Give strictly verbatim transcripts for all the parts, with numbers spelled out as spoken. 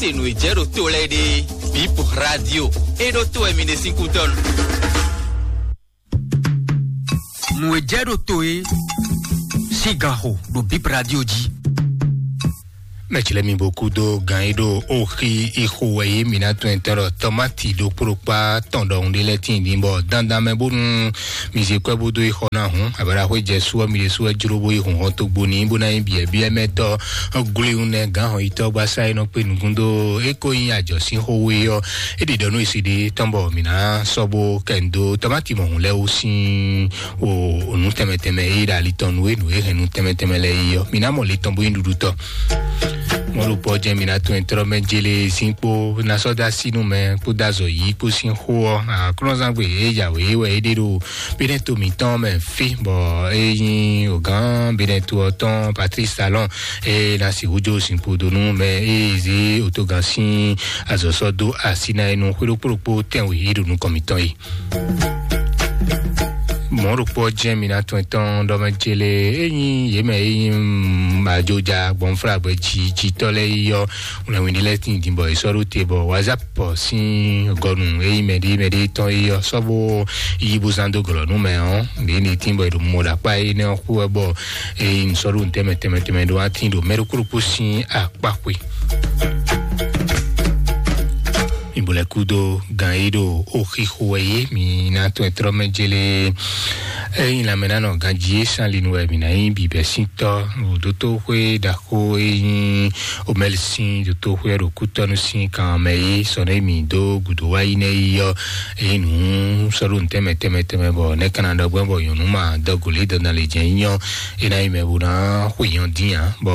Te nǔ e jɛ ɖo to lɛ́ɛ ɖe, Bip Radio, é ɖó to wɛ mi ɖe sín kútɔ́ nu. Nǔ e jɛ ɖo to é sín ganxo ɖo Bip Radio jí. Mɛtsilɛ mi bo kúdó gan e ɖo oxi ixo wɛ yé mi ná tún ɛtɛ́ ɖɔ tɔmati ɖokpó ɖokpá tɔn ɖɔhun ɖé lɛ́ɛ tíin dín bɔ dandan mɛ bónú mi zé kwɛ́ bó dó yi xɔ ná hǔn, abǎɖaxwé jɛ sú ɔ́, mi ɖésú wɛ jló bó yi hun hɔn togbo ní bó ná nyí biɛ̌biɛ́ mɛ tɔ́. Glewun nɛ gǎn hɔn yitɔ́ gbasá e nɔ kpé nukún dó é ko nyí ajɔ̌ sín xó wé ɔ́, é ɖi ɖɔ nú esi ɖé tɔn bɔ mǐ ná sɔ́ bó kɛ nu dó tɔmati mɔ̌hun lɛ́ɛ wú sín o nǔ tɛnmɛ tɛnmɛ e ɖo ali tɔn nú é nǔ e hɛn nú tɛnmɛ tɛnmɛ lɛ́ɛ yi ɔ́, mǐ ná mɔ le tɔn bó nyí ɖuɖu tɔn. Mɔ̌ ɖo pɔ́ jɛ́n mǐ ná tún ɛntrɔ́ mɛ jélé sín kpó ná sɔ́ dó así nú mɛ kpó dó azɔ yí kpó sín xó ɔ́, aklúnɔzángbe e yǎwé wɛ é ɖe ɖo Beneto mǐtɔn mɛ fí, bɔ é nyí ògán Beneto ɔ́ tɔn Patrice Talon, é ná sixú jó sin kpo dó nú mɛ é zé otogán sín azɔ̌ sɔ́ dó así ná é nú xwé ɖokpó ɖokpó tɛ́nwe é ɖo nukɔn mǐtɔn é. Mɔ̌ ɖokpó ɔ́ jɛ́n mi ná tɔn tɔn ɖɔ mɛ jélé é nyí yě mɛ é nyí, mm, ajoja gbɔnflágbɛ jijitɔ́ lɛ́ɛ yi ɔ́, wlɛnwǐni lɛ́ɛ tín din bɔ è sɔ́ ɖó te bɔ WhatsApp sín gɔnu é nyí mɛɖé mɛɖé tɔn yi ɔ́ sɔ́ bó yi bó zán dó glɔ̌ nú mɛ ɔ́, ɖě ní tín bɔ è ɖo mɔ ɖo akpá énɛ́ ɔ́ xú wɛ bɔ è nyí sɔ́ ɖó nǔ tɛnmɛ tɛnmɛ tɛnmɛ ɖó wá tín ɖo mɛ ɖokpó ɖokpó sín akpá xwe. Mi bo lɛ́ kúdó gan e ɖo oxixo wɛ yé mi ná tɔn ɛ trɔ́ mɛ jélé. Ényí lanmɛ ná nɔ ganjí é sán linu wɛ mǐ ná nyí bǐbɛ́ sín tɔ́ ɖo dótóxwé ɖaxó e nyí omɛli sín dótóxwé ɔ́ ɖo kútɔ́nú sín kan mɛ é sɔ́ nú mǐ dó gǔdo wá yi nɛ́ yi ɔ́. Ényí nǔ sɔ́ ɖo nǔ tɛnmɛ tɛnmɛ tɛnmɛ bɔ nɛ́ ka ná ɖɔ gbɔn bɔ nyɔ̌nu ma dɔgǒ lě dɔdalě jɛ́n nyí ɔ́, é ná nyí mɛ bó ná xwe nyɔ́ dín ǎ, bɔ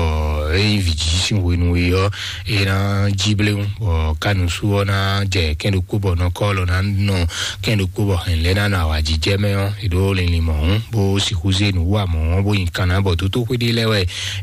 ényí vǐ jí sín hwenu é ɔ́, é ná jí bléwún, bɔ kánu sú ɔ́ ná jɛ kɛ́n ɖokpó bɔ nɔkɔ́ lɔ ná nɔ kɛ́n ɖokpó bɔ hɛn lɛ́ɛ ná nɔ awǎjijɛ mɛ ɔ́, è ɖó linlin mɔ̌hún bó sixú zé nǔ wa mɔ̌ ɔ́ bó nyi kan ná bɔ dótóxwé ɖé lɛ́ɛ wɛ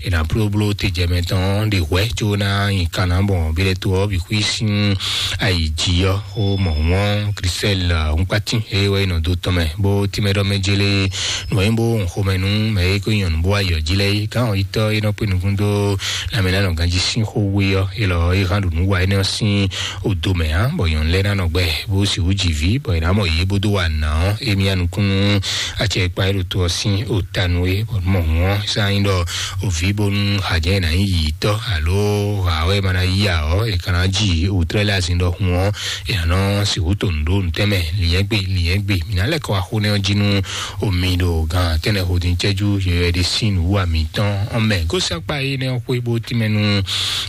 è nǎ blóbló te jɛ mɛ tɔn ɔ́ ɖe hwɛ̌ có ná nyi kan ná bɔ bílɛ́ tó ɔ́ bǐ xwí sín ayi jí ɔ́. Xó mɔ̌hún ɔ́, Krisɛ́l Húnkpátín é wɛ é nɔ dó tɔn mɛ bó tínmɛ ɖɔ mɛ jélé nǔ e nyí bó hun xomɛ nú mɛ e ko nyɔ̌nu bó wá yɔ jí lɛ́ɛ é. Gǎn yitɔ́ e nɔ kpé nukún dó lanmɛ ná nɔ ganjí sín xó wé ɔ́, é lɔ é hán ɖo nǔ wa énɛ́ ɔ́ sín odo mɛ ǎ, bɔ nyɔ̌nu lɛ́ɛ ná nɔ gbɛ bó sixú ji vǐ, bɔ è nǎ mɔ yě bó dó wa nǎ ɔ́, émí anukún acɛ e kpa é ɖo to ɔ́ sín ota nú é, bɔ mɔ hǔn ɔ́ sán nyí ɖɔ òví bónú hǎjɛ ná nyí yǐtɔ́ alo hǎ wɛ ma ná yí ǎ ɔ́, è ka ná ji wǔtrɛ́ lɛ́ɛ azin ɖɔhun ɔ́, è nǎ nɔ sixú to nǔ ɖó nǔtɛ́mɛ lǐnyɛ́gbe lǐnyɛ́gbe. Mǐ ná lɛ́ kɔ wá xó nɛ́ ɔ́ jí nú omi ɖo gan tɛ́nɛ hodin cɛ́jú yɔyɔ́ ɖé sín nǔwú mǐtɔn ɔ́ mɛ. Gosín akpa énɛ́ ɔ́ xwé bó tínmɛ nú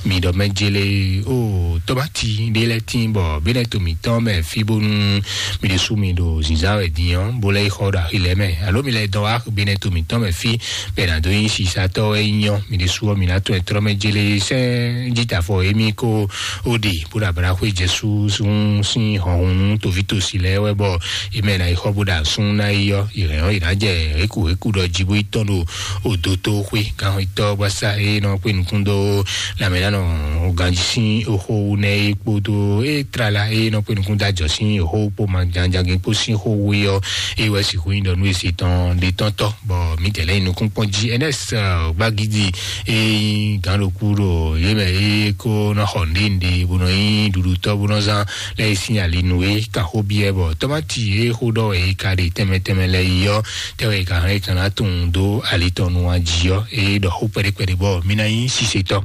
mi ɖɔ mɛ jélé o tɔmati ɖé lɛ́ɛ tín bɔ bínɛ́ to mǐtɔn mɛ fí bónú mi ɖésú mi ɖo zǐnzán wɛ din ɔ́, bó lɛ́ yi xɔ ɖo axi lɛ́ɛ mɛ, alo mi lɛ́ dɔn wá bínɛ́ to mǐtɔn mɛ fí bɔ è nǎ dó nyí sisatɔ́ wɛ nyí ɔ́, mi ɖésú ɔ́, mi ná tɔn ɛ tlɔ́ mɛ jélé sɛ́n jítafɔ émí kó ó ɖe bó ɖo ablaxwé Jezu sín hɔnhun nú toví tosi lɛ́ɛ wɛ bɔ é mɛ ná yi xɔ bó ɖo asún ná yi ɔ́, yě hɛn ɔ́, yě ná jɛ éku éku ɖɔ jí bó yi tɔn ɖo odotoxwé. Ganxɔtɔ́ gbasá e nɔ kpé nukún dó lanmɛ ná nɔ ganjí sín oxó wú nɛ́ é kpódó é tlala e nɔ kpé nukún dó ajɔ sín oxó kpó ma janjagin kpó sín xó wú é ɔ́, é wɛ sixú nyí ɖɔ nú esi tɔn ɖe tɔntɔ bɔ mǐdɛɛ lɛ́ nyi nukún kpɔ́n jí. Ernest Gbagidi e nyí gǎn ɖokú ɖo yě mɛ e ko nɔ xɔ nǔɖé nǔɖé bó nɔ nyí ɖuɖutɔ́ bó nɔ zán lɛ́ e sín ali nú é kan xó byɔ́ ɛ bɔ tɔ́mati e xó ɖɔ wɛ é ka ɖe tɛnmɛ tɛnmɛ lɛ́ɛ yi ɔ́, tɛ́ wɛ è ka hɛn é ka ná tunwun dó ali tɔn nu wá jí ɔ́, é ɖɔ xó kpɛɖé kpɛɖé bɔ mí ná nyí sisetɔ.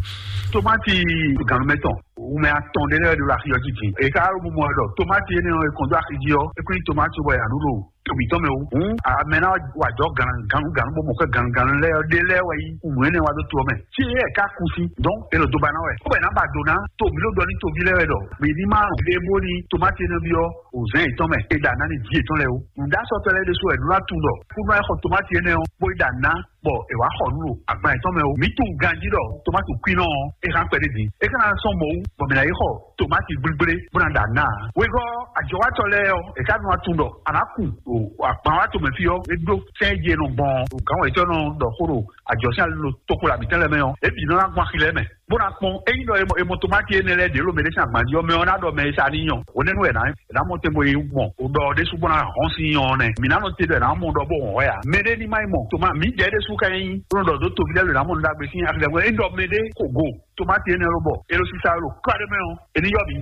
Tomati ganmɛ tɔn wumɛ atɔn ɖé lɛ́ɛ ɖo axi ɔ́ jí din. È ka ɖo mɔ ɖɔ tomati énɛ́ ɔ́ è kɔn dó axi jí ɔ́, é kún nyí tomati bɔ è nǎ ɖu ɖo tobítɔ́ mɛ wú. Hǔn amɛ ná wà jɔ gannuganu gannuganu bɔ mɔ̌ kɛ gannuganu lɛ́ɛ ɔ́ ɖé lɛ́ɛ wɛ nyí nǔ énɛ́ wá dó to ɔ́ mɛ. Fí e é ka kú sín, dɔn è nɔ dó ba ná wɛ. Ó bɛ ná ba do ná to mǐ ló ɖɔ ní toví lɛ́ɛ wɛ ɖɔ mǐ ní má ɖe bó ní tomati énɛ́ byɔ́ wǒzɛ́n yětɔn mɛ, è ɖa ná ní jí yětɔn lɛ́ɛ wú. Nǔɖásɔtɔ́ lɛ́ɛ ɖésú wɛ nǔ ná tunwun ɖɔ kúnú wá xɔ tomati énɛ́ ɔ́, bó yi ɖa ná bɔ è wǎ xɔ nǔ ɖo agban yětɔn mɛ ó. Mǐ tunwun ganjí ɖɔ tomati kwínɔ ɔ́, é hán kpɛɖé din. É ka ná sɔn mɔ̌ wú, bɔ mǐ ná yi xɔ tomati gblígblé bó ná ɖa ná ǎ. Wegɔ́ ajɔwátɔ́ lɛ́ɛ ɔ́, è ka nɔ wá tunwun ɖɔ a nǎ kun ɖo agban wá tomɛ fí ɔ́, é ɖó sɛ́n e jí è nɔ gbɔn ɖo gǎn wɛ̌tɔ́ nɔ ɖɔ xó ɖo ajɔ̌ sín ali ɖo toxo lamǐtɛn lɛ́ɛ mɛ ɔ́, é bǐ nɔ ná gbɔn axi lɛ́ɛ mɛ. bó ná kpɔ́n. Ényí ɖɔ e mɔ tomati énɛ́ lɛ́ɛ ɖě ló mɛ ɖé sín agban jí ɔ́, mɛ ɔ́ ná ɖɔ mɛ e sa ní nyɔ. Hwenɛ́nu wɛ ná ná mɔ te bo yi mɔ o ɖɔ ɖésú bó ná hɔn sín nyɔ ɔ́ nɛ́. Mǐ ná nɔ te ɖɔ è nǎ mɔ ɖɔ bó hɔn hwɛ ǎ. Mɛɖé ní má yi mɔ toma mǐdɛɛ ɖésú ka nyí bó nɔ ɖɔ dó toví lɛ́ɛ ɖo ná mɔ nǔ ɖagbe sín axi lɛ́ɛ é ɖɔ mɛɖé kò go. Tomati énɛ́ ló bɔ é ɖo sísá ló ká ɖé mɛ ɔ́, é ní yɔ mǐ.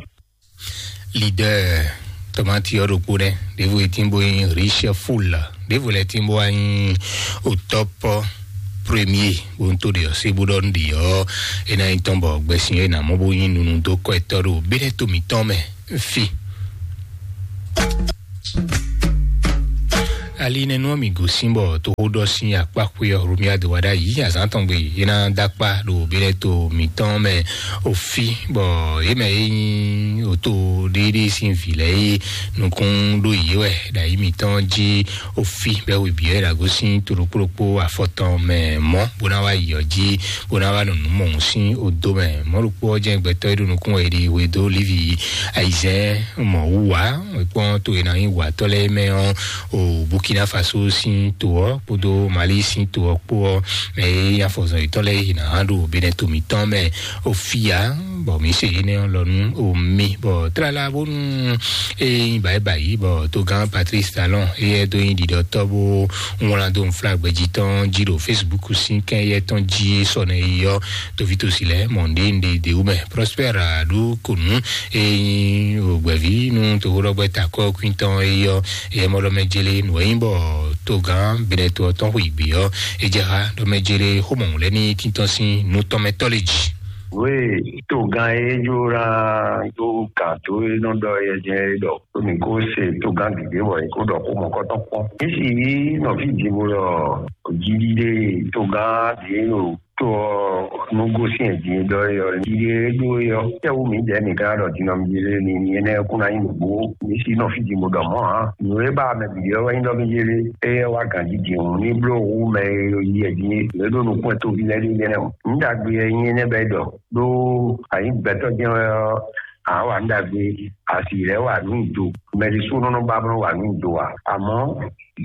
Leader tomati ɔ́ ɖokpó nɛ́, ɖěvo e tín bó nyí Richard Full, ɖěvo lɛ́ɛ tín bó wá nyí otɔ́pɔ premier bó ń tó ɖe ɔ́ sé bó ɖɔ nú ɖi ɔ́, é ná nyí tɔn bɔ gbɛsin ɔ́ é ná mɔ bó nyí nunu dó kɔ etɔ́ ɖo bénɛ́ to mǐtɔn mɛ fi. Ali nɛnú ɔ́ mǐ gosín bɔ toxóɖɔ sín akpáxwé ɔ́ Romuald wá ɖ'ayǐ azǎn tɔn gbe é ná dó akpá ɖo bénɛ́ to mǐtɔn mɛ. Ofi bɔ yě mɛ e nyí oto ɖéɖé sín vǐ lɛ́ɛ é nukún ɖó yě wɛ ɖo ayǐ mǐtɔn jí. Ofi bɛ́ we bǐ wɛ ɖo agosín to ɖokpó ɖokpó afɔ tɔn mɛ mɔ̌ bó ná wá yi ɔ́ jí bó ná wá nɔ nǔ mɔ̌hun sín odo mɛ. Mɔ̌ ɖokpó ɔ́ jɛ́n gbɛtɔ́ e ɖo nukún wɛ è ɖi hwe dó Livi ayizɛ́n mɔ̌ wú ǎ. È kpɔ́n to e ná nyí wǎtɔ́ lɛ́ɛ mɛ ɔ́, o Burkina Faso sín to ɔ́ kpódó Mali sín to ɔ́ kpó ɔ́, mɛ e nyí afɔzɔn yětɔn lɛ́ɛ yě ná hán ɖo Benɛ́ to mǐtɔn mɛ. O fia bɔ mǐ se énɛ́ ɔ́ lɔ nú o mi bɔ tlala bónú e nyí bǎyibǎyi bɔ togán Patrice Talon éyɛ́ dó nyí ɖiɖɔtɔ́ bó wlán dó nflágbɛjí tɔn jí ɖo Facebook sín kɛ́n éyɛ́ tɔn jí sɔnɛ yi ɔ́, tovítòsí lɛ́ɛ mɔ nǔɖé nǔɖé ɖě wú mɛ. Prosper aɖú kò nú e nyí ògbɛ̀ví nú toxóɖɔgbɛ́ takɔ́ kwíntɔn é yɔ. Yɛ mɔ ɖɔ mɛ jele nǔ e nyí bɔ togán Benɛto ɔ́ tɔn xwe yǐgbe ɔ́, é jɛ xá ɖɔ mɛ jele xó mɔ̌hun lɛ́ɛ ní tíntɔ́n sín nú tɔn mɛ tɔ́ lé jí. Wé togán e jó ná dó gǎn tó e nɔ ɖɔ yɛ jɛ é ɖɔ mǐ kó se togán gěgé bɔ è kó ɖɔ xó mɔ̌kɔtɔn kpɔ́n. Mǐ si yí nɔví Jimbo ɖɔ jiɖiɖe togán ɖě ɖo to ɔ́ nú gosín din dɔ yɔ ɖiɖe ɖó yɔ tɛwu mǐ dɛ mǐ ka ɖɔ dinɔ mǐ ɖe ni ni énɛ́ kún ná nyí nǔgbó. Mǐ si nɔ fí din bó ɖɔ mɔ̌ ǎ. Nǔ e ba mɛ bǐ ɔ́ wɛ nyí ɖɔ mí yé éyɛ́ wá ganjí din hǔn ní bló hú mɛ e yi ɛ din é ɖó nukún ɛ tóví lɛ́ɛ ɖé yɛnɛ o. Nǔ ɖagbe ɛ nyí énɛ́ bɛ́ ɖɔ ɖó ayǐ gbɛtɔ́ jɛ́n wɛ ɔ́, ǎ wa nǔ ɖagbe asi lɛ́ wa nǔ nyi do. Mɛ ɖésúnɔ nɔ ba bó nɔ wa nǔ nyi do ǎ. Àmọ́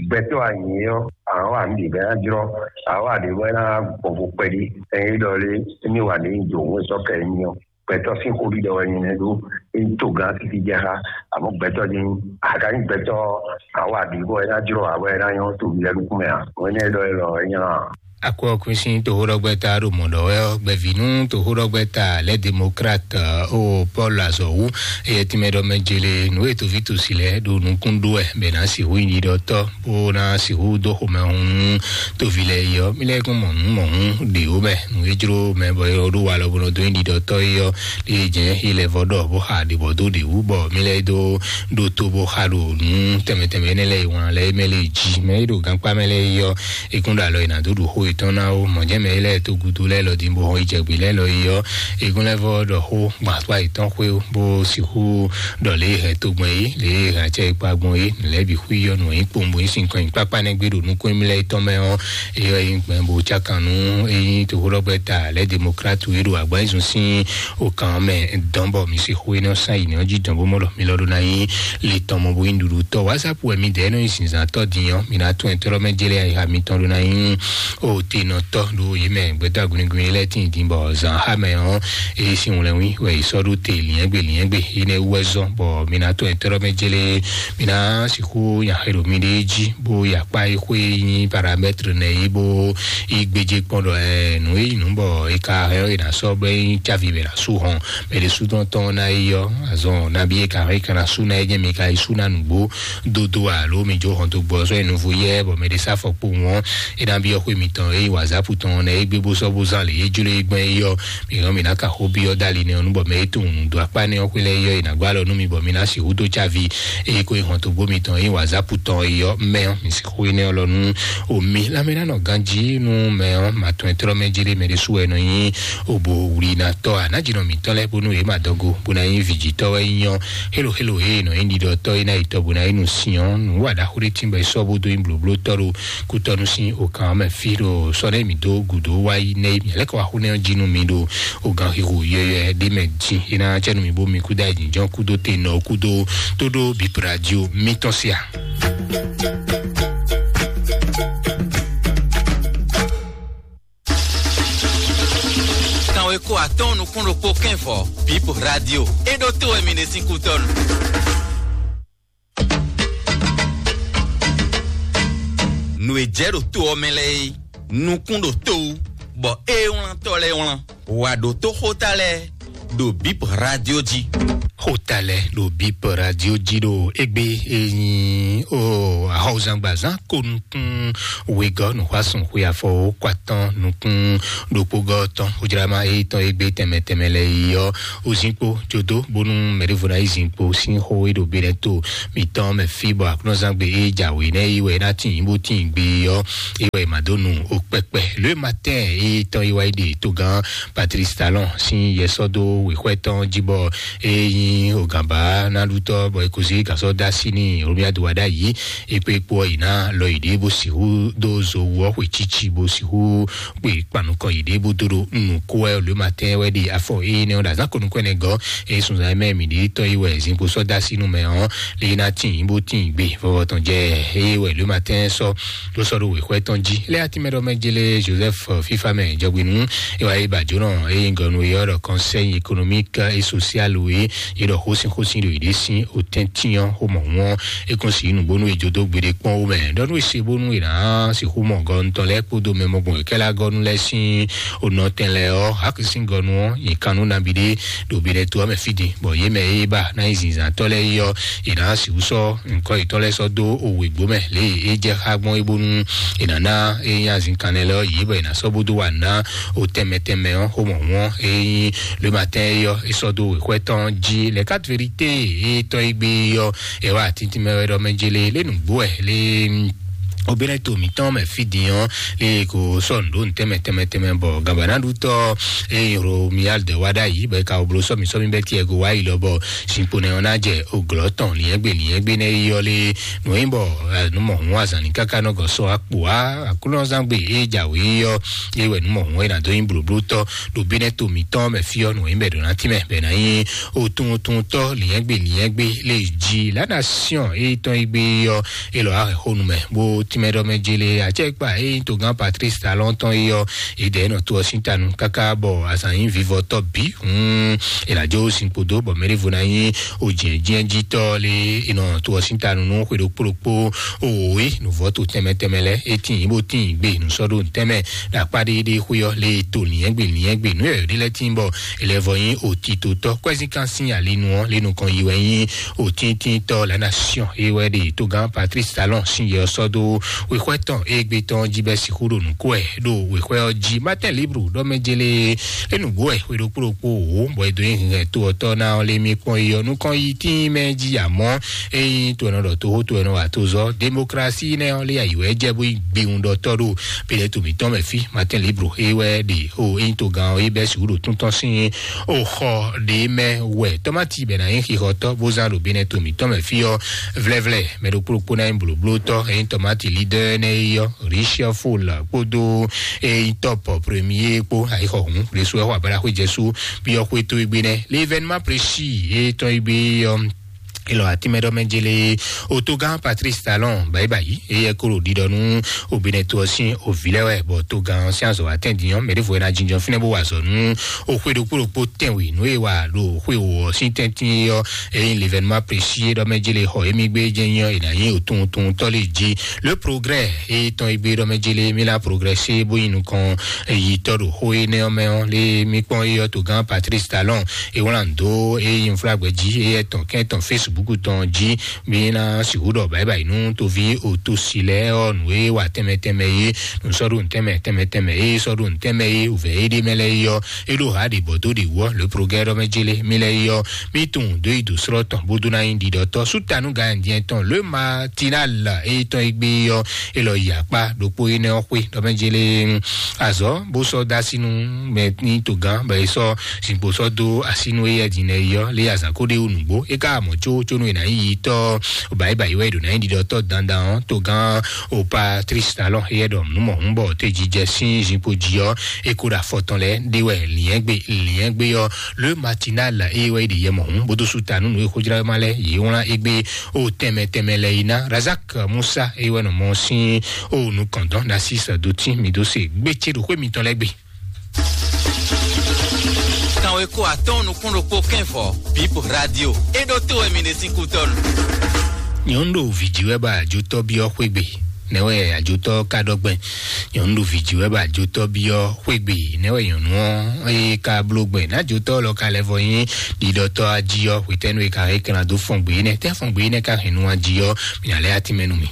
gbɛtɔ́ anyǐ ɔ́, àwọn wà ní ɖě bɔ é ná jlɔ́, àwọn wà ɖě bɔ é ná gbɔn vo kpɛɖí. Ɛyin ɖɔ lé émí wà ní nyi jǒhún e sɔ́ kɛ émí ɔ́. Gbɛtɔ́ sín xó ɖiɖɔ wɛ nyɛ ɖó é nyí togán títí jɛ xá, àmọ́ gbɛtɔ́ ní àká nyí gbɛtɔ́ àwọn wà ɖě bɔ é ná jlɔ́ ǎ bɔ é ná nyɔ́ toví lɛ́ɛ nukún mɛ ǎ. Wɛn ní é ɖɔ é lɔ é nylá ǎ. Akɔ ɔkùnrin sín toxóɖɔgbɛ́ta ɖo mɔ̌ ɖɔ wɛ ɔ́, gbɛ̀vínú toxóɖɔgbɛ́ta lɛ́ Demokrat o Paul Azɔwu, eyɛ tínmɛ ɖɔ mɛ jele nǔ e toví tòsí lɛ́ɛ ɖo nukún ɖó wɛ bɛ ná sixú nyí ɖiɖɔtɔ́ bó ná sixú dó xomɛ hun toví lɛ́ɛ yi ɔ́, mí lɛ́ kún mɔ nǔ mɔ hun ɖě ó mɛ nǔ e jló mɛ bɔ è ɖó walɔ bó nɔ dó nyí ɖiɖɔtɔ́ yi ɔ́, lě e jɛ̌n yi lɛ vɔ ɖɔ bó xa ɖě bɔ dó ɖě wú bɔ mí lɛ́ dó ɖó tó bó xa ɖo nǔ tɛnmɛ tɛnmɛ énɛ́ lɛ́ɛ yi wlán lɛ́ɛ mɛ lě jí mɛ e ɖo gankpá mɛ lɛ́ɛ yi ɔ́, è kún ɖo alɔ è nǎ dó ɖu xó yětɔn ná ó. Mɔ̌ jɛ́n mɛ e lɛ́ɛ tó gúdo lɛ́ɛ lɔ din bó hɔn yi jɛ gbě lɛ́ɛ lɔ yi ɔ́, è kún lɛ́ vɔ́ ɖɔ xó gbɔn akpá yětɔn xwé ó, bó sixú ɖɔ lě e hɛn togban é, lě e hɛn acɛ e kpa gbɔn é, nǔ lɛ́ɛ bǐ xwí ɔ́, nǔ e nyí kpowun bó nyí sinkɔn nyǐkpákpá nɛ́ gbé ɖo nukún émí lɛ́ɛ tɔn mɛ ɔ́, é ɔ́ nyí gbɛn bó cákan nú é nyí toxóɖɔgbɛ́ta lɛ́ Demokrat e ɖo agbǎnzun sín okan mɛ dɔn bɔ mi se xó énɛ́ ɔ́ sán yi nɛ́ ɔ́ jí dɔn bó mɔ ɖɔ mi lɔ ɖó ná nyí le tɔn mɔ bó nyí ɖuɖu tɔ́. WhatsApp wɛ mi dɛɛ nɔ nyi zinzan tɔ́ din ɔ́, mi ná tún ɛntɔ́ɖɔmɛ jélé ayixa mitɔn ɖó ná nyí o te nɔ tɔ́ ɖó yě mɛ gbɛdɔ́ agunigún lɛ́ɛ tín din bɔ zǎn xá mɛ ɔ́, é sín wlɛ́nwí wɛ è sɔ́ ɖó te liɛ́ngbé liɛ́ngbé énɛ́ wú wɛ zɔ́n bɔ mi ná tún ɛntɔ́ɖɔmɛ jélé mi ná sixú nyaxɛ ɖo miɖée jí bó yi akpá e xwé nyí paramètre nɛ é bó yi gbéjé kpɔ́n ɖɔ ɛ nǔ e nyí nǔ bɔ è ka hɛn ɔ́ è nǎ sɔ́ bɔ é nyí cávi mɛ ná sú hɔn mɛ ɖé sú tɔn tɔn ná yi ɔ́ azɔn nabí e ka hɛn é ka ná sú ná é jẹ́ mi ka yi sú ná nǔgbó dódó alo mi jó hɔn dó gbɔ sɔ́ yi nuvo yɛ bɔ mɛ ɖé sá fɔ kpo wɔn é ná byɔ́ xwé mitɔn é yi wǎzápu tɔn nɛ é gbé bó sɔ́ bó zán lě é jló é gbɛn é yɔ mi hɔn mi ná ka xó byɔ́ dali nɛ ɔ́ nú bɔ mɛ é tunwun nǔ dó akpá nɛ ɔ́ xwé lɛ́ɛ yɔ è nǎ gbá lɔ nú mi bɔ mi ná sixú dó cávi eye ko yi hɔn togbó mitɔn eye wǎzápu tɔn eye ɔ́ mɛ ɔ́ mi sixú énɛ́ ɔ́ lɔ nú omi lámɛnánɔ ganjí nú mɛ ɔ́ matɔn ɛtrɔ́ mɛ jélé mɛ ɖé sú wɛ nɔ nyí obo wlinatɔ́ anájínɔ mǐtɔn lɛ́ɛ bónú yě ma dɔgo bó ná nyí vǐjítɔ́ wɛ nyí ɔ́ hélo hélo eye nɔ nyí ɖiɖɔtɔ́ é ná yi tɔ bó ná nyí nu sin ɔ́ nǔ wa ɖaxó ɖé tín bɔ é sɔ́ bó dó nyí blǒblótɔ́ ɖo kútɔ́nú sín okan mɛ fí ɖo sɔ́ nɛ́ mǐ dó gǔdo wá yi nɛ́ mǐ lɛ́ kɔ wá xó nɛ́ ɔ́ jí nú mi ɖo ogan xixo yɔyɔɛ ɖé mɛ din é ná cɛ nú mi bó mi kúdó ayǐjínjɔ́n kúdó te nɔ kúdó tó ɖó bipra jí o mítɔn sia. Kan wé Ko atɔ́ɔ́n nukún ɖokpó kɛ́n vɔ̌, Bip Radio. É ɖó tó wɛ mi ɖe sín kútɔ́nu. Nǔ e jɛ ɖo to ɔ́ mɛ lɛ́ɛ é, nukún ɖo to wú, bɔ é wlántɔ́ lɛ́ɛ wlán. Wǎ ɖo tó xóta lɛ́ɛ ɖo Bip Radio jí. Xóta lɛ́ɛ ɖo Bip Radio jí ɖo égbé e nyí o axɔzángbazán ko nukún wegɔ́ nǔxwásún xwe afɔ ó kó atɔ́ɔ́n nukún ɖokpógɔ́ tɔn xójláma e tɔn égbé tɛnmɛ tɛnmɛ lɛ́ɛ yi ɔ́, ó zinkpo jódó bónú mɛɖěvo ná yi zinkpo sín xó e ɖo Benɛto mǐtɔn mɛ fí bɔ aklúnɔzán gbe e jǎwe nɛ́ yi wɛ ná tín bó tín gbe ɔ́, é wɛ è ma dó nu ó kpɛkpɛ. Le matin e tɔn yi wá yi ɖe togán Patrice Talon sín yɛsɔ́ dó wěxwɛ́ tɔn jí bɔ é nyí ògǎnbá nálútɔ bɔ é kó sí gǎsɔ dó así n'i Romuald Wadagni. É kpé kpó ɔ́ yi ná lɔ yi ɖě bó sixú dó zo wu ɔ́ xwe cíci bó sixú kpe kpanukɔ yi ɖě bó dó ɖo nǔ kó wɛ Le matin wɛ ɖe afɔ énɛ́ ɔ́ ɖo azǎn ko nukɔn ɛnɛ gɔ́. Eye sunzan e mɛ mǐ ɖe tɔn yi wɛ zinkpo sɔ́ dó así nú mɛ ɔ́, le ná tín bó tín gbe vɔvɔ tɔn jɛ. Eye wɛ Le matin sɔ́ ló sɔ́ ɖo wěxwɛ́ tɔn jí. Lé atímɛɖɔmɛ jélé Joseph Fífamɛ jɔgbe nú é wá yi ba jǒnɔ eye gɔnu e ɔ́ ɖɔ conseil économique et social e é ɖɔ xósin xósin ɖo yěɖée sín otɛ́ntín ɔ́ xó mɔ̌hun ɔ́, é kún si nǔgbónú e jó dó gbeɖé kpɔ́n wú mɛ. Ɖɔ nú è se bónú è nǎ sixú mɔ gɔnutɔn lɛ́ɛ kpódó mɛ mɔgbɔn kɛ́lá gɔ́nú lɛ́ɛ sín onɔtɛn lɛ́ɛ ɔ́, hákisín gɔnu ɔ́, nyǐkannú nabí ɖé ɖo Benɛto ɔ́ mɛ fí din, bɔ yě mɛ e ba ná nyí zinzǎntɔ́ lɛ́ɛ é ɔ́, è nǎ sixú sɔ́ nyǐkɔ yětɔn lɛ́ɛ sɔ́ dó wěgbó mɛ lě e é jɛ xá gbɔn é bónú è nǎ ná é nyí azinkan lɛ́ɛ lɛ́ɛ ɔ́ yě bɔ è nǎ sɔ́ bó dó wa ná o tɛnmɛ tɛnmɛ ɔ́ xó mɔ̌hun ɔ́, é nyí Le matin é ɔ́, é sɔ́ dó wěxwɛ́ tɔn jí. Les quatre vérités e tɔn yi gbé ɔ́, é wá atíntí mɛ wɛ ɖɔ mɛ jélé lé nǔgbó wɛ lé obìnrin tó mǐtɔn mɛ fí din ɔ́, lé kò sɔ́ nǔ ɖó nǔ tɛnmɛ tɛnmɛ tɛnmɛ bɔ gǎnbáná ɖutɔ́ e Romuald wá ɖ'ayǐ bɔ é ka wɔ bló sɔ́mi sɔ́mi bɛ́ tiɛ go wá yi lɔ bɔ zinkpo nɛ ɔ́ ná jɛ oglɔ́ tɔn liɛ́ngbé liɛ́ngbé nɛ́ yi ɔ́ lé nǔ nyí bɔ nǔ mɔ̌hun azǎn ní káká nɔ gɔ́ sɔ́ akpò á aklúnɔzán gbe e jǎwe ɔ́, é wɛ nǔ mɔ̌hun e ná dó nyí blǒblótɔ́ ɖo Benɛto mǐtɔn mɛ fí ɔ́, nǔ e nyí bɔ è ɖǒ ná tínmɛ bɔ è nǎ nyí otunwuntɔntɔ́ liɛ́ngbé liɛ́ngbé lé jí La Nation e tɔn yi gbé ɔ́, é lɔ axɛ xó nu mɛ bó tínmɛ ɖɔ mɛ jélé acɛkpa e nyí togán Patrice Talon tɔn é ɔ́, é dɛ nɔ to ɔ́ sín tanu káká bɔ azǎn nyí vivɔtɔ́ bǐ hun è nǎ jó sin kpódó bɔ mɛɖěvo ná nyí ojǐɛ́njíɛ́njítɔ́ lé è nɔ to ɔ́ sín tanu nú xwe ɖokpó ɖokpó. Owe nǔvɔ́ to tɛnmɛ tɛnmɛ lɛ́ɛ é tín bó tín gbe nǔsɔ́ɖó tɛnmɛ ɖo akpá ɖéɖé xwé ɔ́ lé to liɛ́ngbé liɛ́ngbé nǔ yɔ̌yɔ́ ɖé lɛ́ɛ tín bɔ è lɛ́ vɔ nyí otitotɔ́ kɔ́zínkan sín alinu ɔ́ lé nukɔn yi wɛ nyí otíntítɔ́ La Nation é wɛ ɖe togán Patrice Talon sín yɛ ɔ́ sɔ́ dó wěxwɛ́ tɔn égbé tɔn jí bɛ́ sixú ɖo nǔ kó wɛ ɖo wěxwɛ́ ɔ́ jí. Martin Libre ɖɔ mɛ jélé é nǔgbó wɛ xwe ɖokpó ɖokpó wǒ bɔ é dó nyi hɛn to ɔ́ tɔ́ ná ɔ́ lé mí kpɔ́n yi ɔ́ nukɔn yi tíin mɛ jí amɔ́ ényí to ɛnɔ ɖɔ toxó to ɛnɔ wa to zɔ démocrasie nɛ́ ɔ́ lé ayǐ wɛ jɛ bó yi gbewun ɖɔtɔ́ ɖo Pilato mǐtɔn mɛ fí. Martin Libre é wɛ ɖe o ényí togán ɔ́ é bɛ́ sixú ɖo tún tɔn sín o xɔ ɖě mɛ wɛ tɔ́mati bɛ ná nyí xixɔtɔ́ bó zán ɖo Pilato mǐtɔn mɛ fí ɔ́. Vlɛvlɛ mɛ ɖokpó ɖokpó ná nyí blǒblótɔ́ ényí tɔ́mati leader nɛ́ é ɔ́ Richard Foul kpódó ényí tɔ́pɔ premier kpó ayixɔhún ɖésú ɛ xɔ abalaxwé jɛsú bí ɔ́ xwé tó égbé nɛ́ l'événement précis é tɔn égbé ɔ́. Ilɔ atimɛɖɔmɛ jele otogán Patrice Talon bayibayi eyɛ kolo ɖiɖɔ nú obinɛto ɔ́ sín òvǐ lɛ́ɛ wɛ bɔ togán ɔ́ sín azɔ̌ wa tɛ́n din ɔ́ mɛ ɖěvo wɛ ná jínjɔ́n fínɛ́ bó wa azɔ̌ nú oxwé ɖokpó ɖokpó tɛnwe nǔ e wa ɖo xwé wǒ ɔ́ sín tɛ́ntin é ɔ́. Ényí l'événement précis ɖɔ mɛ jele xɔ émí gbé jẹ́ nyí ɔ́ è nǎ nyí òtunwuntunwuntɔ́ lě jí. Le progrès e tɔn e gbé ɖɔ mɛ jele mí lá progrès bó nyi nukɔn yitɔ́ ɖo xó énɛ́ ɔ́ mɛ ɔ́ lé mí kpɔ́n é ɔ́ togán Patrice Talon e wlán dó e nyi nfúlágbɛ́ jí éyɛ́ tɔn kɛ́n tɔn Facebook tɔn jí. Mí ná sixú ɖɔ báyìí báyìí nú toví òtúnsi lɛ́ɛ ɔ́ nǔ e wa tɛnmɛ tɛnmɛ é nǔ sɔ́ ɖo nǔ tɛnmɛ tɛnmɛ tɛnmɛ é sɔ́ ɖo nǔ tɛnmɛ é wǔvɛ́ é ɖé mɛ lɛ́ɛ é ɔ́ é ɖo ha ɖě bɔ dó ɖě wú ɔ́ le progrès ɖɔ mɛ jélé mí lɛ́ɛ é ɔ́ mí tunwun dó yi dǒ slɔ́ tɔn bó dó ná nyí ɖiɖɔtɔ́ sútanú gǎndiɛn tɔn le matinal é tɔn é gbé é ɔ́ é lɔ yi akpá ɖokpó énɛ́ ɔ́ xwé ɖɔ mɛ jélé azɔ̌ bó sɔ́ dó así nú mɛ ní togán bɔ é sɔ́ zinkpo sɔ́ dó así nú éyɛ́ din nɛ yi ɔ́ lé azǎn kó ɖé wú nǔgbó é ka mɔ có có nú è nǎ nyí yitɔ́ báyìí báyìí wɛ è ɖǒ ná nyí ɖiɖɔtɔ́ dandan ɔ́ togán o Patrice Talon éyɛ́ ɖɔ nǔ mɔ̌hun bɔ tejijɛ sín zinkpo jí ɔ́ é kó ɖo afɔ tɔn lɛ́ɛ ɖé wɛ liɛ́ngbé liɛ́ngbé ɔ́ le matinal é wɛ é ɖe yɛ mɔ̌hun bó dó sú ta nú nǔ e xójlá ma lɛ́ɛ yě wlán égbé o tɛnmɛ tɛnmɛ lɛ́ɛ yi ná Razak Musa é wɛ nɔ mɔ sín o nukɔndɔn Narcisse Dotí mi dó se gbé ce ɖo xwé mitɔn lɛ́ɛ gbe. E ko atɔ́ɔ́n nukún ɖokpó kɛ́nvɔ, Bip Radio. E ɖó to wɛ mi ɖe sín kútɔ́nu. Nyɔ̌nu ɖo vǐ jí wɛ bɔ ajotɔ́ byɔ́ xwé gbe. Nɛ̌ wɛ ajotɔ́ ka ɖɔ gbɛn? Nyɔ̌nu ɖo vǐ jí wɛ bɔ ajotɔ́ byɔ́ xwé gbe. Nɛ̌ wɛ nyɔ̌nu ɔ́ e ka bló gbɛn? Nǎ ajotɔ́ lɔ ka lɛ́ vɔ nyí ɖiɖɔtɔ́ ají ɔ́, hwetɛ́nu e ka hɛn kan dó fɔn gbě nɛ́? Tɛ́ fɔn gbě nɛ́ ka hɛn nu ají ɔ́, mǐ ná lɛ́ atínmɛ nú mi.